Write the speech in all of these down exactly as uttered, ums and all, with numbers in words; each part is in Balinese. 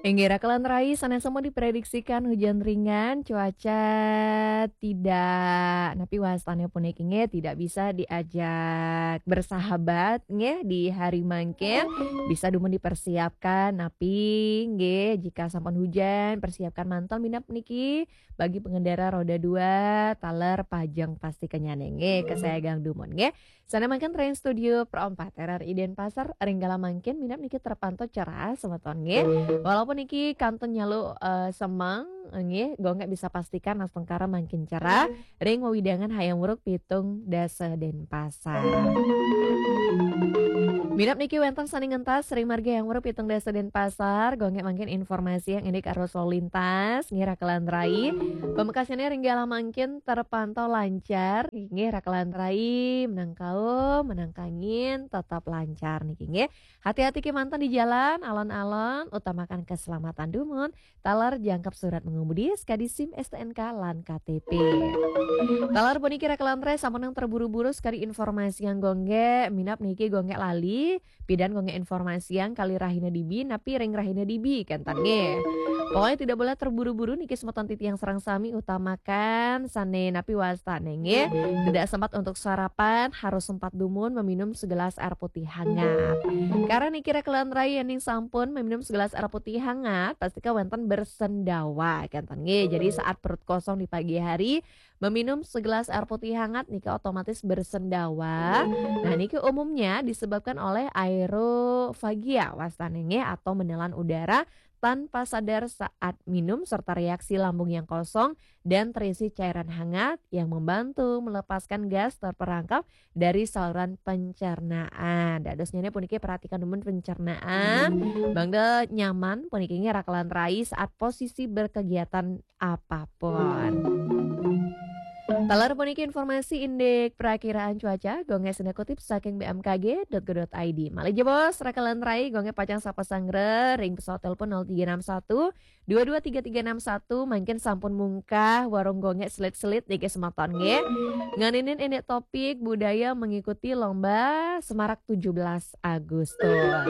Inggih, raka lan rai, sanés sampun diprediksikan hujan ringan, cuaca tidak, napi wastané puniki nggih, tidak bisa diajak bersahabat nggih di hari mangkin. Bisa dumun dipersiapkan, napi nggih jika sampun hujan, persiapkan mantel minab niki bagi pengendara roda dua, taler pajeng pastikannyané nggih, kesayangan dumun nggih. Sané mangkin ring studio Pro empat R R I Denpasar, ring galah mangkin minab niki terpantau cerah semeton nggih. Walaupun niki kantun nyalu, eh, semeng nggih, Gung Gék bisa pastikan astungkara mangkin cerah ring wewidangan Hayam Wuruk pitung dasa Denpasar. Minab niki wénten sané ngentas ring margi Hayam Wuruk pitung dasa Denpasar, Gung Gék mangkin informasiang indik arus lalu lintas nggih, raka lan rai. Pamekasnyané ring galah mangkin terpantau lancar nggih, raka lan rai, menang kaum, menang kangin, tetap lancar niki nggih. Hati-hati kémanten di jalan, alon-alon, utamakan keselamatan dumun, taler jangkep surat mengemudi, sekadi SIM, STNK, lan KTP. Taler puniki raka lan rai, sampunang terburu-buru sekadi informasiang Gung Gék, minab niki Gung Gék lali, pidan Gung Gék informasiang kalih rahina dibi, napi ring rahina dibi, kénten nggih. Pokoknya tidak boleh terburu-buru niki semeton titiang sareng sami, utamakan sané napi wastané nggih. Tidak sempat untuk sarapan, harus sempat dumun meminum segelas air putih hangat. Karena niki raka lan rai, yéning sampun meminum segelas air putih hangat, pastika wénten bersendawa, kénten nggih. Jadi saat perut kosong di pagi hari, meminum segelas air putih hangat niki otomatis bersendawa. Nah, niki umumnya disebabkan oleh aerofagia wastané nggih, atau menelan udara tanpa sadar saat minum serta reaksi lambung yang kosong dan terisi cairan hangat yang membantu melepaskan gas terperangkap dari saluran pencernaan. Dadosnyané puniki perhatikan dumun pencernaan, mangda nyaman puniki nggih raka lan rai saat posisi berkegiatan apapun. Taler puniki informasi indik perakiraan cuaca, Gung Gék singgah kutip saking B M K G dot go dot I D. Malih jebos, raka lan rai, Gung Gék pacang sapa sanggra ring pesawat telepon nol tiga enam satu, dua dua tiga tiga enam satu, mangkin sampun mungkah warung Gung Gék selit-selit niki semeton nggih. Nganinin indik topik budaya mengikuti lomba Semarak tujuh belas Agustus.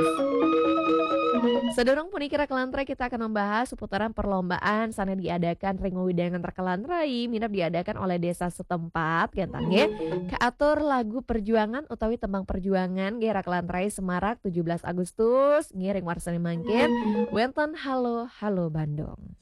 Sadurung puniki raka lan rai, kita akan membahas seputaran perlombaan sané diadakan ring wewidangan raka lan rai, minab diadakan oleh desa setempat, kénten nggih. Kaatur lagu perjuangan utawi tembang perjuangan nggih raka lan rai, Semarak tujuh belas Agustus nggih, ring warsané mangkin wénten Halo Halo Bandung.